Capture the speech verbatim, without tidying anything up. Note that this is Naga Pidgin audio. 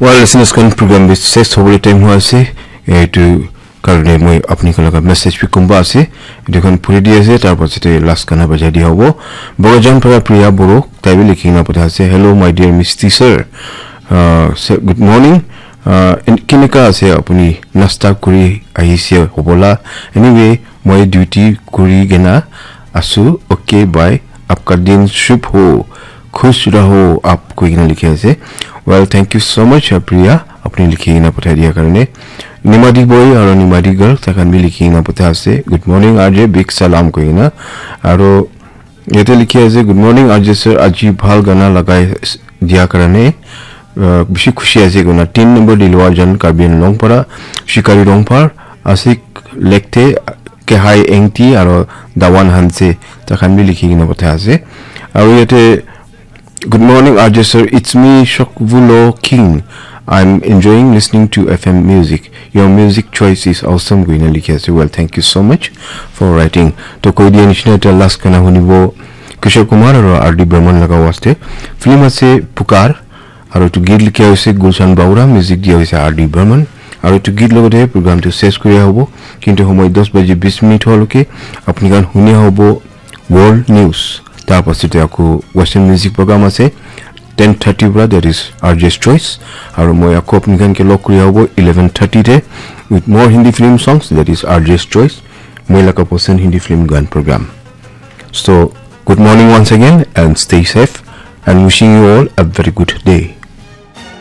Well, listeners, kan program bi ses hobole time hua ase. Etu karne moi apni khan laga message bi kumba ase. Etu khan puri di ase, tar pasate last gana bajai dia hobo. Bogajan para Priya Boro, tai bi likhi na patha ase. "Hello, my dear Misty sir. Uh, sir, good morning. Uh, en-, kineka ase apuni? Nasta kuri ahise hobola? Anyway, moi duty kuri kena asu. Okay, bye. Apka din shubh ho. Khush raho aap," koi kena likhi ase. Well, thank you so much, uh, Priya, apni likhi kena pathai dia karne. Nimadi boy aro Nimadi girl, takhan bi likhi kena patha ase. "Good morning, R J, big salam," koi kena. Aro yate likhi ase, "Good morning, R J sir, aji bhal gana lagai s-, dia karne, uh, bishi khushi ase," koi kena. Tin number Dilwar Jan, Karbi Anglong para, Shikari Rongphar, Asik Lekte, Kehai Engti aro Dawan Hanse, takhan bi likhi kena patha ase. Aro yate, "Good morning, R J sir. It's me, Shokvulo King. I'm enjoying listening to F M music. Your music choice is awesome," koi kena likhi ase. Well, thank you so much for writing. To koi dia nishina, eta last gana hunibo Kishore Kumar aro R D Burman laga waste. Film ase Pukar. Aro etu git likha hoise Gulshan Baura, music dia hoise R D Burman. Aro etu git logote program tu ses kuri hobo. Kintu homoi dos baji bis minute holoke apni khan huni hobo World News. Tar pasate aku Western music program ase ten thirty para, that is R J's Choice. Aro moi aku apni khan ke log kuri hobo eleven thirty te with more Hindi film songs, that is R J's Choice. Moi laga pasand Hindi film gan program. So, good morning once again and stay safe and wishing you all a very good day.